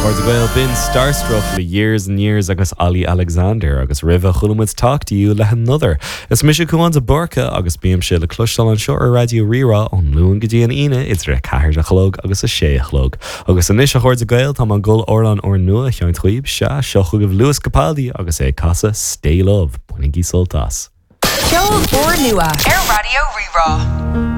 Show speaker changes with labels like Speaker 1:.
Speaker 1: Chairde Gael, b'in Starstruck le Years and Years agus Olly Alexander agus roimhe chuala muid Talk to You le hAnother. Is mise Cúán de Búrca agus bímse le cloisteáil anseo ar Raidió Rí-Rá ón Luan go dtí an Aoine idir 4 a chlog agus 6 a chlog. Agus anois a chairde Gael tá mé ag dul amhrán úrnua a sheinnt dhaoibh, sea, seo chugaibh Lewis Capaldi agus é ag casadh Stay Love. Bainigí sult as.
Speaker 2: Ceol úrnua ar Raidió Rí-Rá.